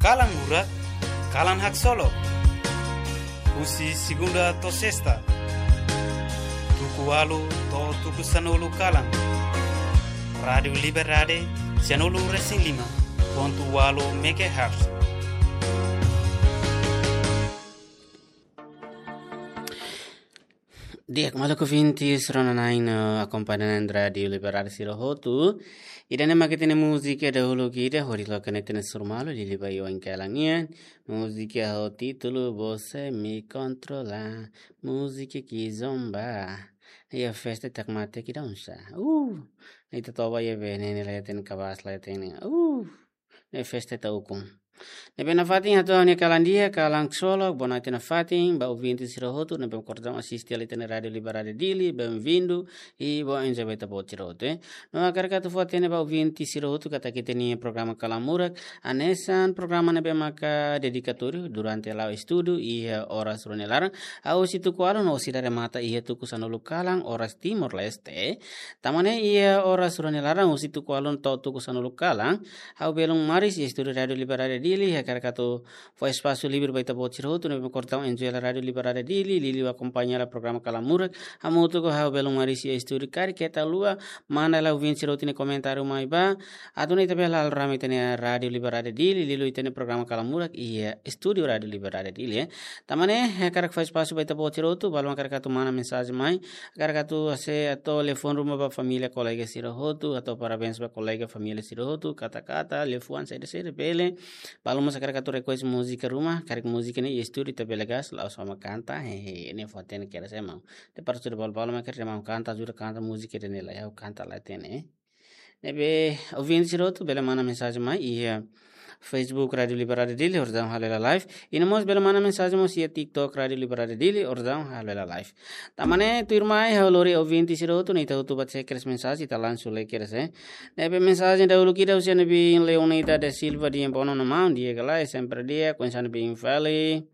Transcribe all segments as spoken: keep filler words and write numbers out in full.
Kalan Murak, kalan haksolok. Husi segunda to'o sesta, tuku ualu to'o tuku sanulu kalan. Rádiu Liberdade, sianulu resin lima pontu ualu megahertz. Di'ak, maluk ouvintes, rona-na'in no akompaña na'in Rádiu Liberdade sira hotu. Ida-ne'e mak ita-nia múzika dahuluk ida, hodi loke ne'e ita-nia surmalu, Lili Bayoin kalan nian. Múzika ho títulu Você Me Controla. Múzika kizomba. Iha festa tak mate ki dansa. Uh, ne'e ita toba iha be, ne'e, ne'e leten kabas leten. Uh, ne'e festa ita ukun. Ne'ebé nafatin hato'o ha'u-nia kalan di'ak, kalan haksolok, boa noite nafatin ba ouvinte sira hotu ne'ebé kordom asiste hela ita-nia Rádiu Liberdade Dili, bem-vindo, i bom enjoy ba ita-boot sira hotu, eh. No hakarak atu fó-hatene ba ouvinte sira hotu katak ita-nia programa Kalan Murak, hanesan programa ne'ebé maka dedikatóriu durante la'o estudu iha oras rua nia laran, hahú husi tuku ualu no sei remata iha tuku sanulu kalan oras Timor-Leste. Tanba ne'e iha oras rua nia laran husi tuku ualu to'o tuku sanulu kalan, ha'u belun Maris iha estúdiu Rádiu Liberdade Dili, hakarak atu fó espasu livre ba ita-boot sira hotu ne'ebé kordom enjoy hela Rádiu Liberdade Dili, liuliu akompaña hela programa Kalan Murak, hamutuk ho ha'u belun Maris iha estúdiu, karik keta haluha manda hela ouvinte sira hotu nia komentáriu mai ba, atu nune'e ita bele hala'o rame ita-nia Rádiu Liberdade Dili, liuliu ita-nia programa Kalan Murak iha estúdiu Rádiu Liberdade Dili, eh. Tanba ne'e, hakarak fó espasu ba ita-boot sira hotu, balu mak hakarak atu manda mensajen mai, hakarak atu hase'e atu telefone ruma ba família kolega sira hotu, atu parabéns ba kolega família sira hotu, kata-kata, liafuan, saida-saida bele. Balu mós hakarak atu request múzika ruma, karik múzika ne'e iha estúdiu ita bele gas, la'ós ha'u mak kanta, hehe, ne'e fó-hatene kedas ema. Depois sudah balu-balu mak hakarak ema kanta, ajuda kanta múzika ida-ne'e lae, ha'u kanta la hatene, eh. Ne'ebé ouvinte sira hotu bele manda mensajen mai iha Facebook Rádiu Liberdade Dili, orsida halo hela live. I no mós bele manda mensajen mós iha TikTok Rádiu Liberdade Dili, orsida halo hela live. Tanba ne'e tuirmai ha'u lori ouvinte sira hotu ne'e ita hotu bá tseker mensajen, ita langsung lee kedas, eh. Ne'ebé mensajen dahuluk ida husi ha'u-nia biin Leonita da Silva, di'ak, bono no maun, di'ak ka lae, sempre di'ak, oinsá ha'u-nia biin fali.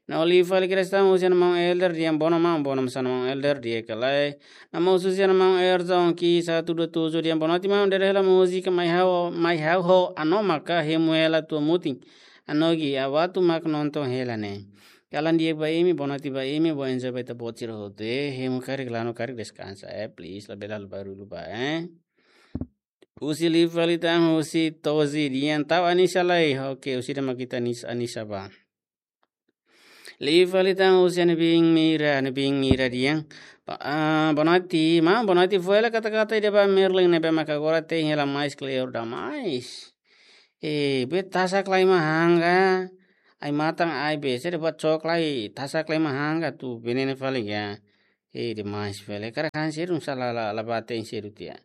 No liu fali kedas tan husi ha'u-nia maun Elder, di'ak, bono maun, bono mós ha'u-nia maun Elder, di'ak ka lae. No mós husi ha'u-nia maun Elder, zon ki satu dua tujuh, di'ak, bono ti maun, dere hela múzika Mai Ha'u, Mai Ha'u ho Anomak ka, hemu hela tua mutin. Anogi, ha'u atu mak nonton hela ne'e. Kalan di'ak ba imi, boa noite ba imi, bom enjoy ba ita-boot sira hotu, eh, hemu karik, lanu karik, deskansa, eh, please, labele halo barullu ba, eh. Husi liu fali tan husi Tozi, di'ak, tau Anisa lai, oke, husi ida mak ita Anis-, Anisa ba. Liu fali tan husi ha'u-nia biin Mira, ha'u-nia biin Mira, di'ak. Ba-, ah, boa noite, maun, boa noite, fó hela kata-kata ida ba Merlin ne'ebé maka agora te'in hela mais kleur demais. Eh, be tasak lai mak hangga, ai-matan ai be, se de buat cok lai, tasak lai mak hangga atu venene fali ya. Eh, demais fali. Hakarak han sedu, sala la, la bá te'in sedu tiha.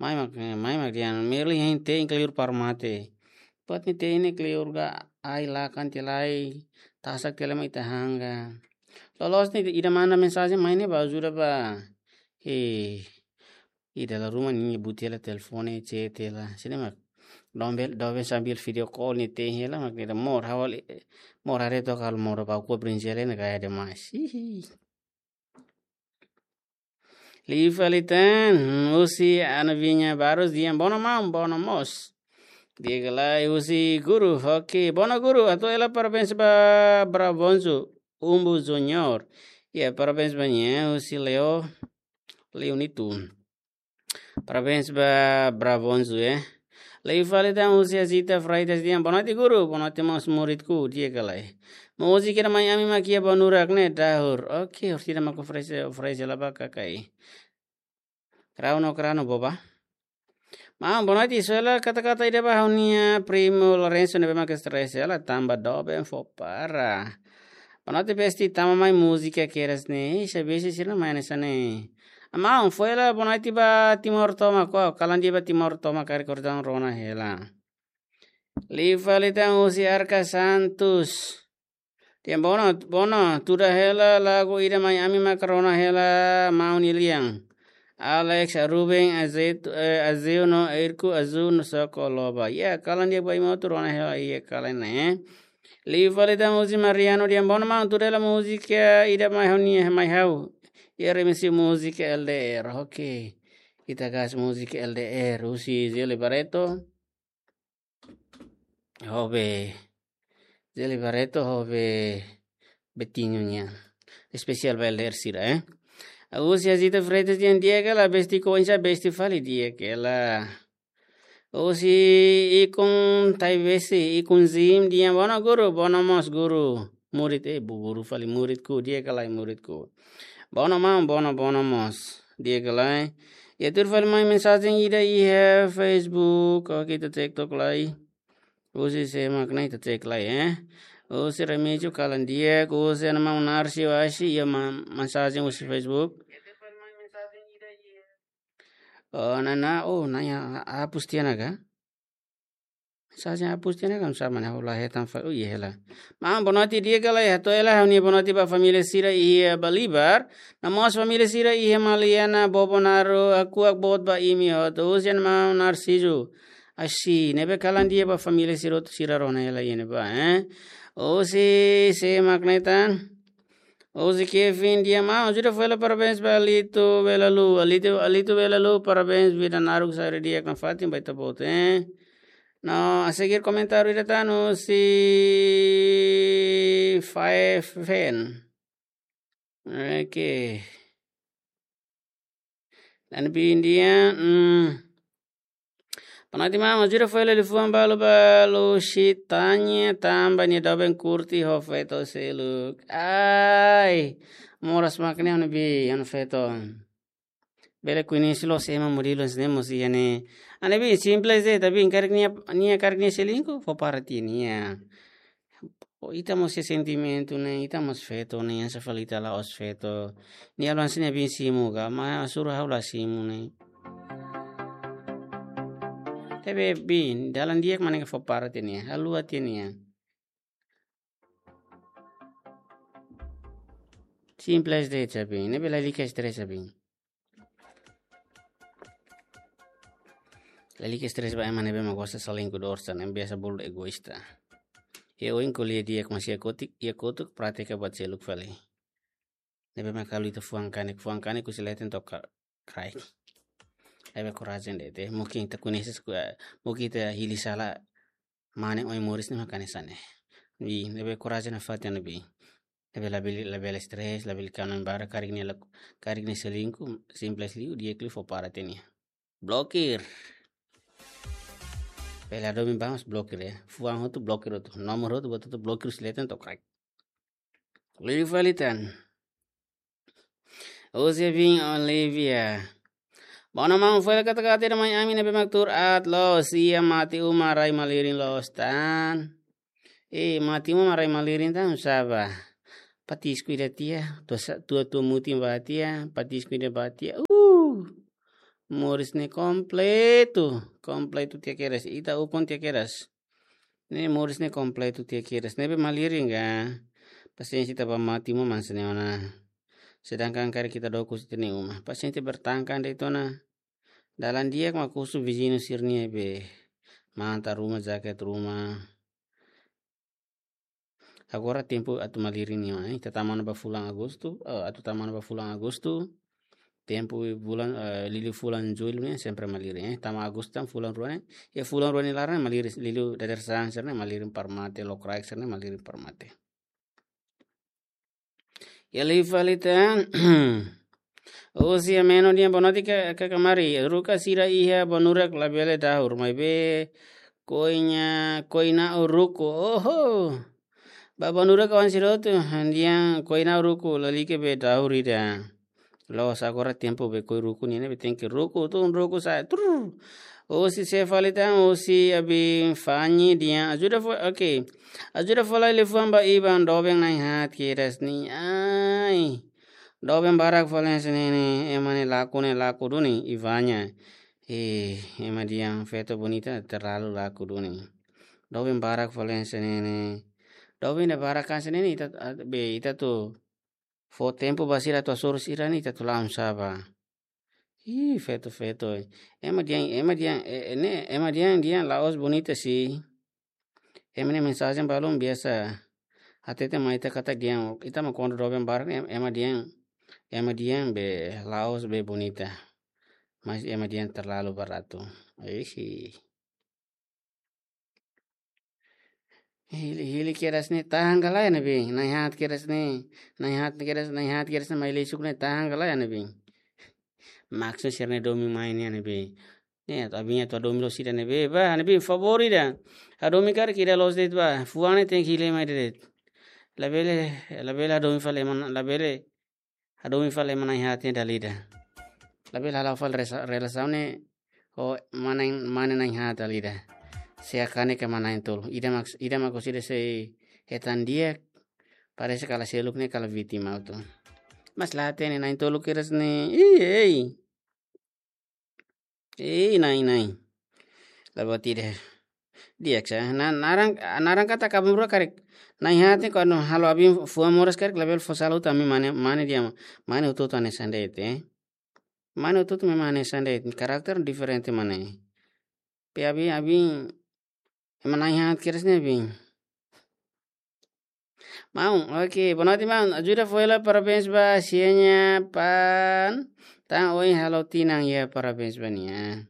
Mai mak, mai mak di'ak, Merlin hein te'in kleur para mate. Buat ne'e te'in ne'e kleur ga ai lakan tiha lai, tasak tiha lai mak ita hangga. Loloos ne'e ida manda mensajen mai ne'e ba ajuda ba. Eh, ida la ruma ne'e buti hela telefone, chat hela. Sini mak. Doben, doben sambil video call ne'e te'in hela mak ida mor hawal, mor haree took halo mor ba ko brinjele ne'e gaya demais. Hihi. Liu fali tan, husi Ana Vinha Barros, di'ak, bono maun, bono mós. Di'ak ka lae, husi Guru, oke, bono Guru, hato'o hela parabéns ba Bravonzo, Umbu Junior. Ya, parabéns ba nia, husi Leo, Leo Nito. Parabéns ba Bravonzo, eh. Liu fali tan husi Azita Freitas, di'ak, boa noite Guru, boa noite mós muridku, di'ak ka lae. Múzika ida Mai Ami mak iha Banurak ne'e dahur. Oke, orsida mak oferese, oferese la ba kakai. Krau no krau no boba. Maun, boa noite, só hela kata-kata ida ba ha'u-nia primo Lorenzo ne'ebé mak stress hela tanba doben fó para. Boa noite, besti, tama mai múzika kedas ne'e, se besi sira mai hanesan ne'e. Maun, fó hela boa noite ba Timor tomak, kalan di'ak ba Timor tomak, karik kordang rona hela. Liu fali tan husi Arca Santos. Di'ak, bono, bono, tuda hela lagu ida Mai Ami mak rona hela maun nia lian. Alex, Ruben, Azet-, eh, Azeu no Erku, Azul no Soko Loba. Ya, kalan di'ak ba imi hotu, rona hela iha kalan ne'e. Liu fali tan husi Mariano, di'ak, bono maun, tuda hela múzika ida Mai Ha'u Nian, Mai Ha'u. Iha remisi múzika L D R, oke. Ita gas múzika L D R, husi Zeli Barreto. Ho be. Zeli Barreto ho be Betinho nian. Espesiál ba L D R sira, eh. Husi Azita Freitas nian di'ak ka lae, besti koinsa besti fali di'ak ka lae. Husi Ikun Taibesi, Ikun Zim nian, bono guru, bono mós guru. Murid, eh, bu guru fali muridku, di'ak ka lae muridku. Bono maun, bono, bono mós. Di'ak ka lae. Iha tuir fali mai mensajen ida iha Facebook, oke, ita cek tok lai. Husi sé mak ne'e, ita cek lai, eh. Husi Remígio kalan di'ak, husi Ana Maun Narsi Oashi, iha ma-, mensajen husi Facebook. Oh, nana, oh, naya, hapus tiha ona ka? Mensajen hapus tiha ona ka, sama na hula hetan fa, oh, iya hela. Maun, boa noite di'ak ka lae, hato'o hela ha'u-nia boa noite ba família sira iha Balibar. No mós família sira iha Maliana, Bobonaro, hakuak boot ba imi hotu. Husi Ana Maun Narciso Oashi, ne'ebé kalan di'ak ba família sira hotu, sira rona hela iha ne'ebá, eh. Husi sé mak ne'e tan. Husi Kevin nian, maun, ajuda fó hela parabéns ba Alito Belalu. Alito, Alito Belalu, parabéns, vida naruk, saúde di'ak nafatin ba ita-boot, eh. No, a seguir komentáriu ida tan husi Faefen. Oke. Ana Bi nian, hmm. Boa noite maun, ajuda fó hela liafuan balu ba Lusitania tanba nia doben kurti ho feto seluk. Ai, moras mak ne'e Ana Bi, Ana Feto. Bele koñese loos ema modelu hanesan ne'e mós iha ne'e. Ana Bi, simples de'it, tapi karik nia, nia karik nia selingkuh, fó para tiha nia. Oh, ita mós iha sentimentu ne'e, ita mós feto ne'e, hanesan fali ita la'ós feto. Nia halo hanesan nia biin simu ka, maibé sura ha'u la simu ne'e. Tapi Bi, dalan di'ak mak ne'e, fó para tiha nia, haluha tiha nia. Simples de'it, sabe? Ne'ebé lalika estresa, sabe? Lalika estresa ba ema ne'ebé mak gosta selingkuh, dorsar, ne'ebé biasa bolu egoísta. Iha oin ko'alia di'ak, mas iha kotuk, iha kotuk pratika buat seluk fali. Ne'ebé mak halo ita fuan kanek, fuan kanek husi leten to'o ka-, kraik. Ne'ebé korajen de'it, eh. Mungkin ita koñese, eh, mungkin ita hili sala mane oin moris ne'e mak hanesan ne'e. Bi, ne'ebé korajen nafatin, Ana Bi. Ne'ebé labele, labele stres, labele kanu barak, karik nia la, karik nia selingkuh, simples liu, di'ak liu fó para tiha nia. Blokir. Bele ladún ba mós blokir, eh. Fuan hotu blokir hotu. Nomor hotu buat hotu blokir husi leten to'o kraik. Liu fali tan. Husi biin Olivia. Bono maun, fó hela kata-kata ida mai ami ne'ebé mak tuur aat loos, iha mate uma rai malirin loos tan. Eh, mate uma rai malirin tan, sá ba? Patisku ida tiha, tua sa-, tua, tua mutin ba tiha, patisku ida ba tiha. Uh! Moris ne'e kompletu, kompletu tiha kedas, ita ukun tiha kedas. Ne'e moris ne'e kompletu tiha kedas. Ne'ebé malirin ka, pasiénsia ita ba mate uma hanesan ne'e ona. Sedangkan karik ita dook husi ita-nia uma, pasiénsia bertahtahan de'it ona. Dalan di'ak mak husu viziñu sira-nia be manta ruma, jaket ruma. Agora tempu atu malirin nian, eh. Ita tama ona ba fulan Agostu, eh, atu tama ona ba fulan Agostu. Tempu bulan, eh, liuliu fulan Jullu ne'e sempre malirin, eh. Tama Agostu tan fulan rua ne'e. Iha fulan rua nia laran malirin, liuliu dadeer-saan sira-ne'e malirin para mate, lokraik sira-ne'e malirin para mate. Iha liu fali tan. Husi Ameno nian, boa noite ka-, kaka Mari. Ruka sira iha Banurak labele dahur, maibé koina, koina o ruku. Oho. Ba Banurak kawan sira hotu, nian koina o ruku, lalika be dahur ida. Loos, agora tempu be koi ruku nian ne'e, be tenke ruku, tun ruku sa, trrr. Husi sé fali tan, husi Abi Fanny nian, ajuda fó, oke. Ajuda fó lai liafuan ba Iban, doben na'in-haat kedas ne'e. Ai. Doben barak fali hanesan ne'e ne'e, ema ne'e laku ne'e laku duni, Ivanya. Eh, ema dehan feto bonita terlalu laku duni. Doben barak fali hanesan ne'e ne'e. Doben ida barak hanesan ne'e ne'e, ita, ah, be, ita atu fó tempu ba sira atu hasoru sira ne'e, ita atu la'o sá ba? Ih, feto, feto. Ema dehan, ema dehan, eh, eh, ne'e, ema dehan, dehan la'ós bonita sih. Ema nia mensajen balun biasa. Hatete mai ita katak dehan, ita mak kuandu doben barak ne'e, ema dehan, ema dehan be la'ós be bonita. Mas ema dehan terlalu baratu. Ih. Hili, hili kedas ne'e tahan ka lae ne'ebé. Na'in-haat kedas ne'e. Na'in-haat kedas, na'in-haat kedas ne'e mai lei suku ne'e tahan ka lae ne'ebé. Maksud sira-ne'e domin mai ne'e ne'ebé. Ne'e, atu abin atu hadomi loos ida ne'ebé. Ba, ne'ebé favór ida. Hadomi karik ida loos de'it ba. Fuan ne'e tenke hili mai de'it. Labele, labele hadomi fali ema, labele hadomi fali ema na'in-haat ne'e dala ida. Labele hala'o fali resa-, relasaun ne'e ho mane, mane na'in-haat dala ida. Se kanek ema na'in-tolu. Ida mak, ida mak husi ida sei hetan di'ak. Parese kala seluk ne'e kala vítima hotu. Mas la hatene na'in-tolu kedas ne'e. Ih, ei. Ei, na'in, na'in. Lae buat ida. Di'ak sa. Na, naran, naran katak aban-bainrua karik. Na'in-haat ne'e kuandu halo abin fuan moras karik labele fó sala hotu ami mane, mane de'it, mane hotu-hotu hanesan de'it, eh. Mane hotu-hotu mak hanesan de'it. Karakter diferente mak ne'e. Pe abin, abin, ema na'in-haat kedas ne'e abin. Maun, oke, boa noite, maun. Ajuda fó hela parabéns ba Sienya Pan. Tan ohin halo tinan iha, parabéns ba nia.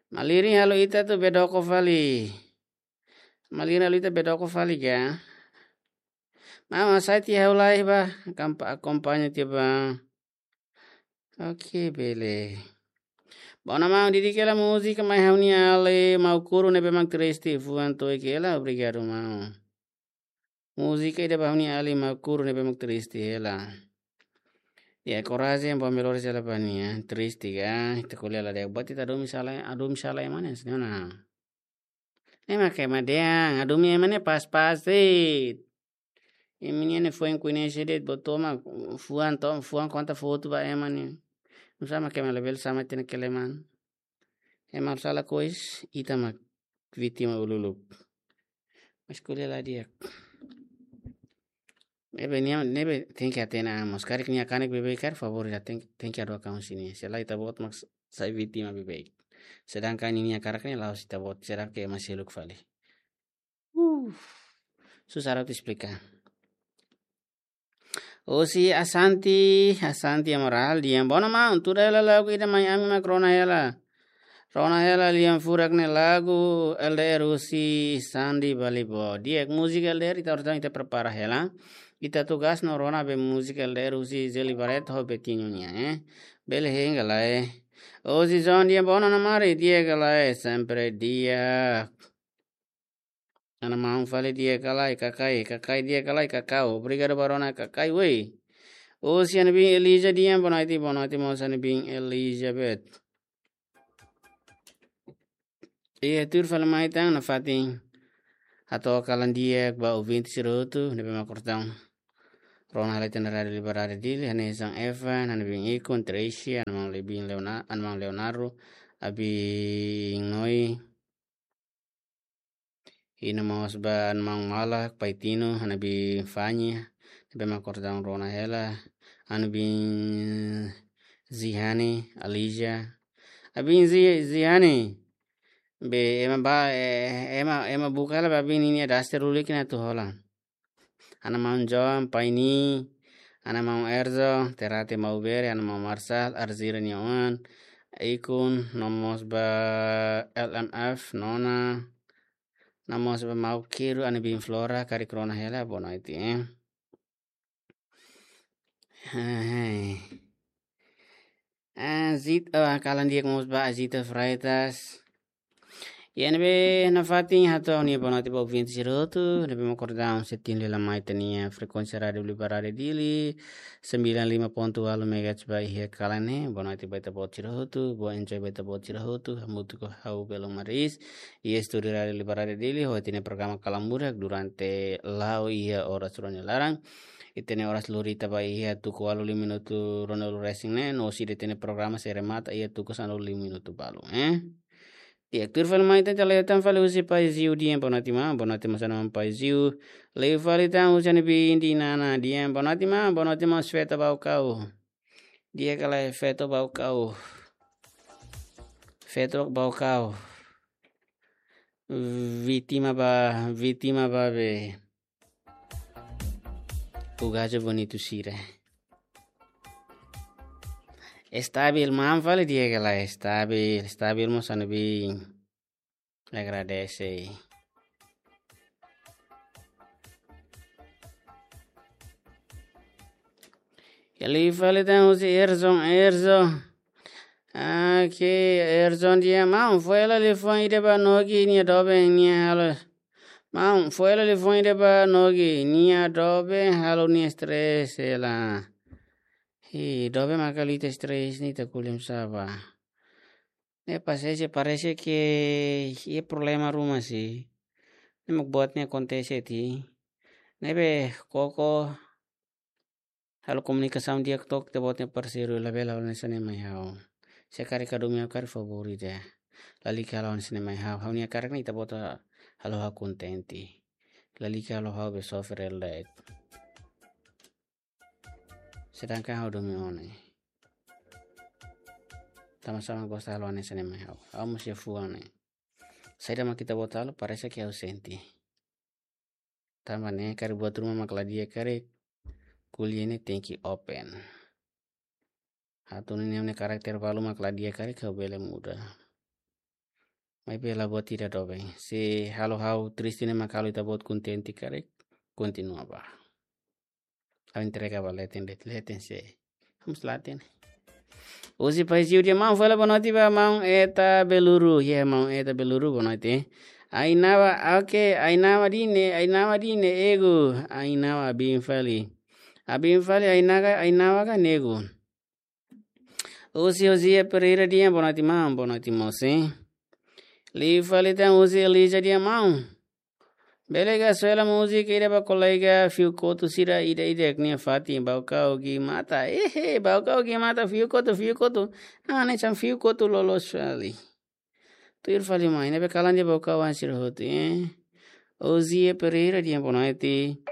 Malirin halo ita atu bedoko fali. Malirin halo ita bedoko fali ka. Maun, hasai tiha ha'u lai ba, kampa-, akompaña tiha ba. Oke, bele. Bona maun, didik hela múzika mai ha'u-nia alin Maukuru ne'ebé mak triste, fuan to'o kela, obrigadu maun. Múzika ida ba ha'u-nia alin Maukuru ne'ebé mak triste hela. Ya, korajen, bom melhor sela ba nia, triste ka, ita ko'alia la di'ak, buat ita hadomi sala, hadomi sala ema ne'e, senhora. Ne'e mak ema dehan, hadomi ema ne'e pas-pas de'it. Imi-nian ne'e foin koñese de'it, buat tomak, fuan to, fuan konta foto ba ema ne'e. Nusá mak ema labele sama ita-nia keleman. Ema sala kois, ita mak vítima ululuk. Mas ko'alia la di'ak. Ne'ebé nia, ne'ebé tenke hatene mós. Karik nia kanek beibeik karik, favór ida tenke, tenke hadook an husi nia. Se lae ita-boot mak sai vítima beibeik. Sedangkan nia hakarak ne'e la'ós ita-boot, será ke ema seluk fali. Uh, susah atu esplika. Husi Asanti, Asanti Amaral, dehan: Bona maun, tuda hela lagu ida mai ami mak rona hela. Rona hela lian furak ne'e lagu L D R husi Sandi Balibo. Di'ak, múzika L D R ita orasaun ita prepara hela. Ita tugas no rona be múzika L D R husi Zeli Barreto ho Betinho nian, eh. Bele hein ka lae. Husi Zon dehan: Bona Ana Mari, di'ak ka lae, sempre di'ak. Ana maun fali, di'ak ka lae, Kakai, Kakai, di'ak ka lae, Kakau. Obrigadu ba rona, Kakai, wei. Husi Ana Bin Elija dehan: Bona noite, bona noite mós Ana Bin Elizabeth. Iha tuir fali mai tan nafatin hato'o kalan di'ak ba ouvinte sira hotu ne'ebé mak kostumadu rona hela ita-nia Rádiu Liberdade Dili, hanesan Evan, Ana Bin Ikun, Tricia, Ana Maun Lebin Leona-, Ana Maun Leonardo, Abin Noi, i no mós ba Ana Maun Malak, Pai Tino, Ana Bin Fanya, ne'ebé mak kostumadu rona hela, Ana Bin Zihani, Alija, Abin Zi-, Zihani, be ema ba, eh, ema, ema buka hela ba abin ninia daster lulik ne'e atu hola. Ana maun John, Paini, Ana maun Erzo, Terate Maubere, Ana maun Marsal, Arzira nia oan, Ikun, no mós ba L M F, Nona, no mós ba Mau Kiru, Ana Bin Flora, karik rona hela, bona iti, eh. Hai. Ah, Zit-, ah, kalan di'ak mós ba Azita Freitas. Iha ne'ebé nafatin hato'o ha'u-nia bona noite ba ouvinte sira hotu, ne'ebé mak kostumadu setin lila mai ita-nia frekuénsia Rádiu Liberdade Dili, sembilan lima ponto walu megahertz ba iha kalan ne'e. Bona noite ba ita-boot sira hotu, bom enjoy ba ita-boot sira hotu, hamutuk ho ha'u Belon Maris, iha estúdiu Rádiu Liberdade Dili, ho ita-nia programa Kalan Murak durante la'o iha oras rua nia laran. Ita-nia oras lori tiha ba iha tuku ualu lima minutu ruanulu resin ne'e, no husi ita-nia programa sei remata iha tuku sanulu lima minutu balu, eh. Di'ak, tuir fali mai ita la'o tan fali husi Pai Ziu dehan: Bona noite maun, bona noite mós Ana maun Pai Ziu. Liu fali tan husi Ana Bin Dinana dehan: Bona noite maun, bona noite mós, feto Baucau. Di'ak ka lae, feto Baucau. Feto Baucau. Vítima ba, vítima ba be. Gajo bonitu sira. Estabil maun fali, di'ak ka lae, estabil, estabil mós Ana Bin. Agradese. Liu fali tan husi Erson, Erson. Oke, Erson dehan maun, fó hela liafuan ida ba Nogi nia doben nia halo. Maun, fó hela liafuan ida ba Nogi nia doben halo nia stress hela. Hi, doben maka halo ita stress ne'e ita ko'alia sá ba. Ne'e parese, parese ke iha problema ruma sih. Ne'e mak buat ne'e akontese tiha. Ne'ebé koko halo komunikasaun di'ak to'ok ita-boot nia parseiru, labele halo hanesan ne'e mai ha'u. Se karik hadomi ha'u karik favór ida. Lalika halo hanesan ne'e mai ha'u. Ha'u-nia karik ne'e ita-boot halo ha'u kontente. Lalika halo ha'u be sofre el daet. Sedangkan ha'u domin ó ne'e. Tanba sá mak gosta halo hanesan ne'e mai ha'u. Ha'u mós iha fuan ne'e. Saida mak ita-boot halo, parese ke ha'u sente. Tanba ne'e karik buat ruma mak la di'ak karik, ko'alia ne'e tenke open. Atu nune'e nia karakter balu mak la di'ak karik ha'u bele muda. Maibé la buat ida doben. Se halo ha'u triste ne'e mak halo ita-boot kontente karik, kontinua bá. Ha'u entrega ba leten, leten, leten sé. Vamos lá, ten. Husi Paiziu dehan maun, fó hela boa noite ba maun Eta Beluru. Ya, maun Eta Beluru, boa noite. Ainaba, oke, ainaba dine, ainaba dine, egu. Ainaba abin fali. Abin fali, ainaga, ainaba ka egu. Husi José Pereira dehan boa noite maun, boa noite moço. Liu fali tan husi Elisa dehan maun. Bele ka soe hela múzika ida ba kolega fiu kotu sira ida-idak nia fatin, Baucau Gimata. Ehe, Baucau Gimata fiu kotu, fiu kotu. Ah, ne'e hanesan fiu kotu loloos fali. Tuir fali mai, ne'ebé kalan de'it Baucau-an sira hotu, eh. Ozia Pereira dehan boa noite.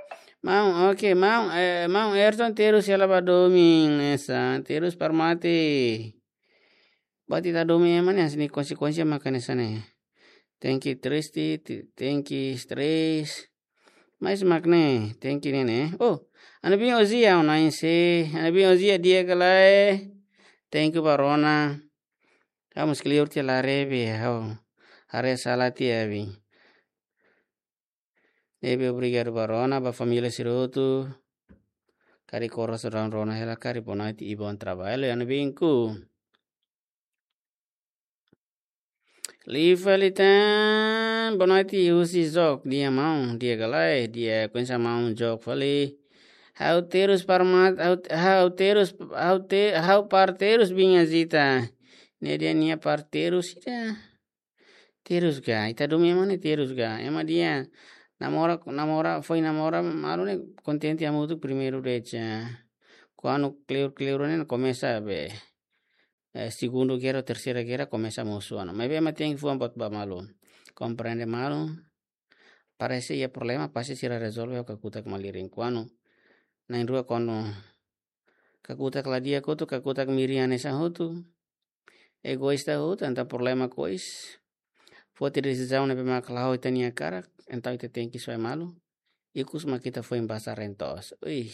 Maun, oke, maun, eh, maun Ayrton terus hela ba domin, hanesan, terus para mate. Buat ita domin ema ne'e, hanesan ne'e konsekuénsia mak hanesan ne'e. Tenke triste, ti-, tenke stress. Mas mak ne'e, tenke ne'e ne'e. Oh, ha'u-nia biin Ozia, ha'u-nia biin Ozia di'ak ka lae. Tenke ba rona. Ha'u mós kleur tiha, la haree be, ha'u haree sala tiha be. Ne'ebé obrigadu ba rona, ba família sira hotu. Karik oras rona, rona hela karik boa noite i bom trabalho, ha'u-nia biinku. Liu fali tan, boa noite husi Jok, dehan maun, di'ak ka lae, di'ak, oinsá maun Jok fali. Ha'u terus para mat, ha'u, ha'u terus, ha'u te-, ha'u para terus biin Azita. Ne'e dehan nia para terus ida. Terus ka, ita domin ema ne'e terus ka. Ema dehan namora, namora, foin namora malu ne'e kontente hamutuk primeiru de'it. Kuandu kleur-kleur ne'e komesa be, eh, segundu gera, terseira gera, komesa mosu ona. Maibé ema tenke fuan buat ba malu. Komprende malu. Parese iha problema, pasti sira rezolve ho kakutak malirin. Kuandu na'in-rua kuandu kakutak la di'ak hotu, kakutak mirin hanesan hotu. Egoísta hotu, entaun problema kois. Foti desizaun ne'ebé mak la'o ita-nia hakarak, entaun ita tenke soe malu. Ikus mak ita foin basa reen to'os. Ui,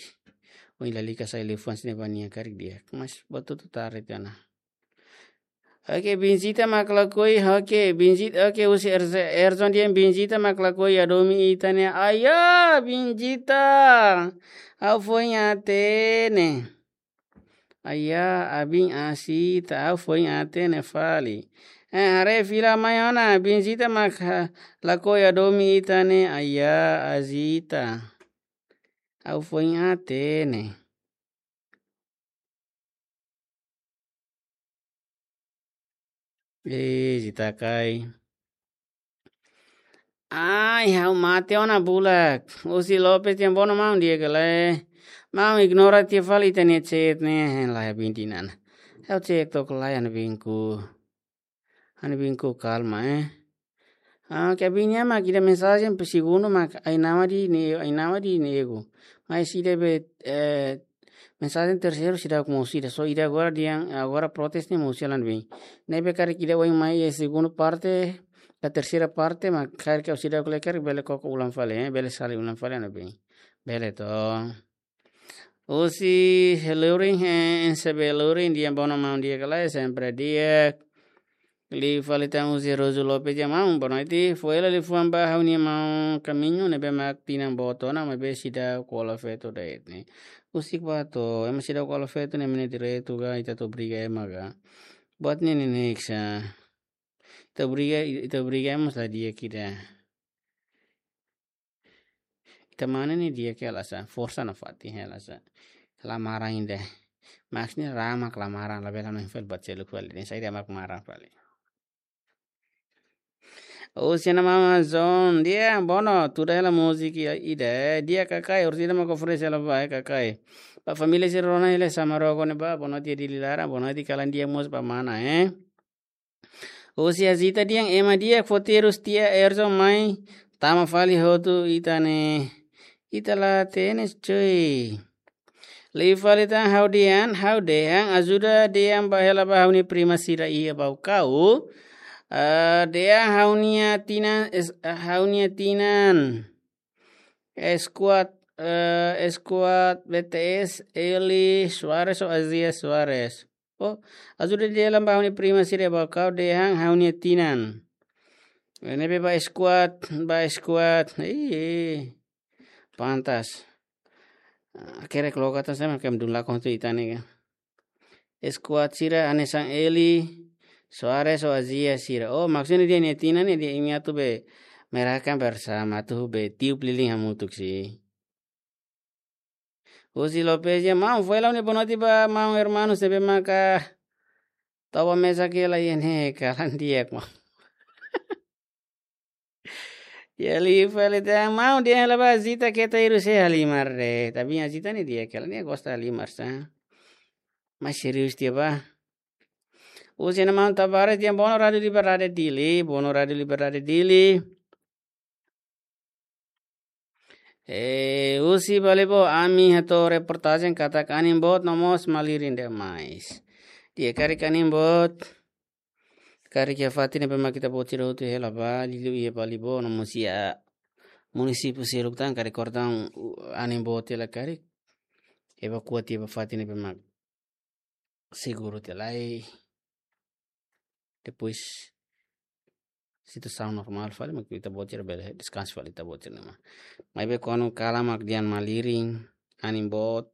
ui lalika sai liafuan sira-ne'e ba nia karik di'ak. Mas buat hotu tarde tiha ona. Oke, biin Zita mak lakohi, oke, biin Zita, oke, husi Erze-, Erzon dehan biin Zita mak lakohi hadomi ita ne'e. Aya, biin Zita. Ha'u foin hatene. Aya, abin asi ta, ha'u foin hatene fali. Eh, haree fila mai ona, biin Zita mak ha-, lakohi hadomi ita ne'e, aya, Azita. Ha'u foin hatene. Eh, Zita kaer. Ai, ha'u mate ona bulak. Husi Lopes dehan bono maun di'ak ka lae. Maun ignora tiha fali ita-nia chat ne'e, lae biin Zita ne'e. Ha'u cek tok lae ha'u-nia biinku. Ha'u-nia biinku kalma, eh. Ah, ke biin nia mak ida mensajen pe segundu mak ai-nawa de'it ne'e, ai-nawa de'it ne'e egu. Mas ida be, eh, mensajen terseiru seidauk mosu ida, só ida agora dehan, agora protes ne'e mosu hela ne'ebé. Ne'ebé karik ida oin mai iha segundu parte, ka terseira parte, mak karik ha'u seidauk lee karik bele koko ulang fali, eh, bele sali ulang fali ne'ebé. Bele to. Husi Lurin, eh, N C B Lurin, dehan bono maun di'ak ka lae, sempre di'ak. Liu fali tan husi Rosu Lopes dehan maun, boa noite. Fó hela liafuan ba ha'u-nia maun Kamiñu ne'ebé mak tinan boot ona, maibé seidauk hola feto de'it ne'e. Husik ba to'o, ema seidauk hola feto ne'e ema nia direitu ka, ita atu obriga ema ka. Buat ne'e neineik sá. Ita obriga, ita obriga ema mós la di'ak ida. Ita-nia mane ne'e di'ak hela sá, forsa nafatin hela sá. La maran ida. Maksudnya rama la maran, labele hanoin fali buat seluk fali. Ne'e saida mak maran fali. Husi Ana Mama Zon, di'ak, bono, tuda hela múzika ida, eh, di'ak kakai, orsida mak oferese hela ba, eh, kakai. Ba família sira rona hela Samaroko ne'ebá, bonoite Dili laran, bonoite kalan di'ak mós ba mana, eh. Husi Azita dehan ema di'ak fó terus tia Erzo mai tama fali hotu ita ne'e. Ita la tenis cuy. Liu fali tan ha'u dehan, ha'u dehan, ajuda dehan ba hela ba ha'u-nia prima sira iha Baucau. Eh, dehan ha'u-nia tinan, es-, ha'u-nia tinan. Squad, eh, squad B T S, Eli Suarez ou Azia Suarez. Oh, ajuda dehan ba ha'u-nia prima sira iha Baucau dehan ha'u-nia tinan. Ne'ebé ba squad, ba squad. Ih, pantas. Ah, kere keloka tan sama kem dun lakon tu itane ka. Squad sira hanesan Eli Suarez ou Azia sira. Oh, maksudnya dehan nia tinan ne'e dehan imi atu be merayakan bersama, atu be tiup lilin hamutuk sih. Husi Lopes dehan maun, fó hela ha'u-nia bonoite ba maun hermanos ne'ebé maka toba mesak hela iha ne'e kalan di'ak maun. Ya liu fali tan maun dehan hela ba Azita keta iru se halimar de'it. Tapi Azita ne'e di'ak hela, nia gosta halimar sá. Mas serius tiha ba. Husi Ana Mama Tavares dehan bono Rádio Liberdade Dili, bono Rádio Liberdade Dili. Eh, husi Balibo, ami hato'o reportajen katak anin boot no mós malirin demais. Di'ak, karik anin boot, karik iha fatin ne'ebé mak ita-boot sira hotu hela ba, liuliu iha Balibo no mós iha munisípiu seluk tan, karik kordang, uh, anin boot hela karik evakua tiha ba fatin ne'ebé mak seguru tiha lai. Depois situasaun normál fali, mak ita-boot sira bele deskansa fali ita-boot sira-nian. Maibé kuandu kalan mak dehan malirin, anin boot,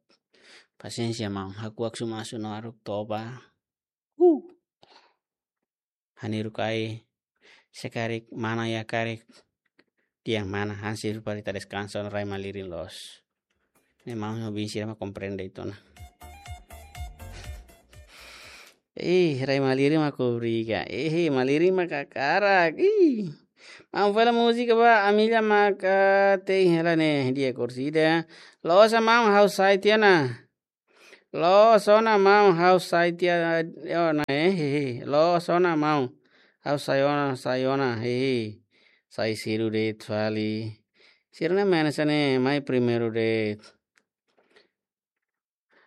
pasiénsia maun, hakuak sumasu no aruk toba. Uh. Hanesan karik, se karik mana iha karik, dehan mana hanesan fali ita deskansa no rai malirin loos. Ne'e maun ho biin sira mak komprende uitoan ona. Eh, rai malirin mak obriga. Eh, malirin mak hakarak. Ih. Maun fó hela múzika ba, ami la maka tein hela ne'e, di'ak orsida. Loos maun, ha'u sai tiha ona. Loos ona maun, ha'u sai tiha ona, eh, hehe. Loos ona maun, ha'u sai ona, sai ona, hehe. Sai sedu de'it fali. Sira-ne'e mane sá ne'e mai primeiru de'it.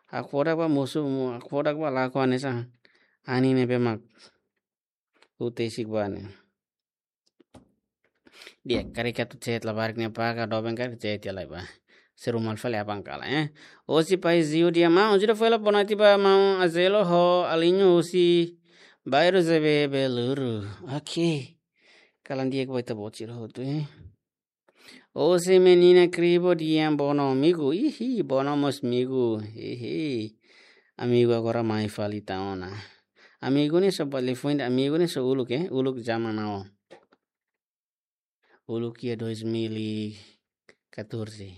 Hakfodak ba mosu, hakfodak ba lakon hanesan anin ne'ebé mak utesik ba ne'e. Di'ak, karik atu chat labarik ne'e paga doben karik chat iha lai ba. Seru mal fali aban kalan, eh. Husi Pai Ziu dehan maun, ajuda fó hela bonoite ba maun Azelo ho Alinho husi bairru Zebebeluru. Oke. Kalan di'ak ba ita-boot sira hotu, eh. Husi Menina Kribo dehan bono amigu. Ihi, bono mós amigu. Ihi. Amigu agora mai fali tan ona. Amigu ne'e só ba liafuan ida, amigu ne'e só uluk, eh. Uluk zaman now. Uluk iha dois mil e catorze.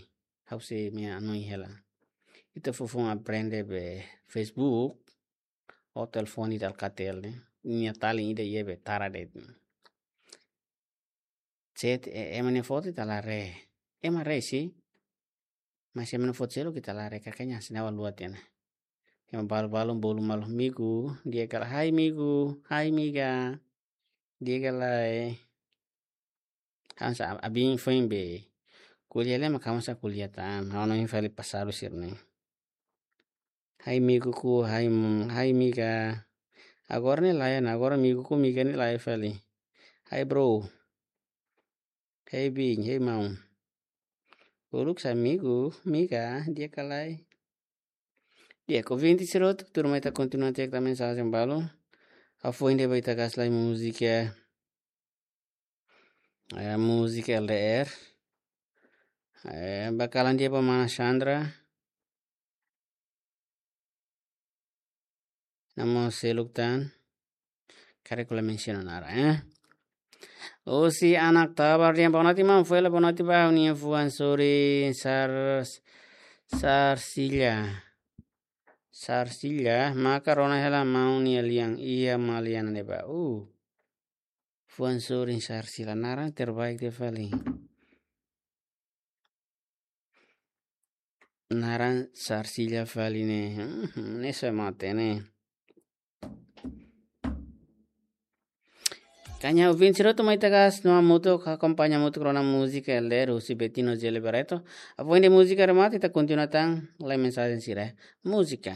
Ha'u sei mai hanoin hela. Ita foufoun aprende be Facebook. Ou telefone ida Alcatel ne'e. Nia talin ida iha be tara de'it. Chat, eh, ema nia foto ita haree. Ema haree sih. Mas ema nia foto seluk ita la haree, kakanya sinawa lua tiha ona. Ema balu-balu bolu malu amigu, di'ak ka lae, hai amigu, hai amiga. Di'ak ka lae. Ha'u hanesan aban foin be kuliah lai mak ha'u hanesan kuliah tan. Ha'u hanoin fali pasadu sira-ne'e. Hai amiguku, hai m-, hai amiga. Agora ne'e lae ona, agora amiguku, amiga ne'e lae fali. Hai bro. Hai biin, hai maun. Uluk sá amigu, amiga, di'ak ka lae. Di'ak, ouvinte sira hotu, tuirmai ita kontinua tiha ita-nia mensajen balu. Hafoin ne'e ba ita kasai múzika, eh, múzika L D R. Eh, ba kalan di'ak ba mana Sandra. Namo seluk tan. Karik la mensiona naran, eh. Husi Anak Tabar, di'ak, boa noite, maun. Foin hela boa noite ba ha'u-nia fuan sorin Sar-, Sarsila. Sarsila, maka rona hela maun nia lian, iha Maliana ne'ebá. Uh. Fuan sorin Sarsila, naran terbaik ida fali. Naran Sarsila fali ne'e. Hmm, ne'e sai mate ne'e. Kaña ouvinte sira hotu mai ita kasai hamutuk, akompaña hamutuk rona múzika L D R husi Betino Zele Barreto. Hafoin ne'e múzika remata, ita kontinua tan lai mensajen sira. Múzika.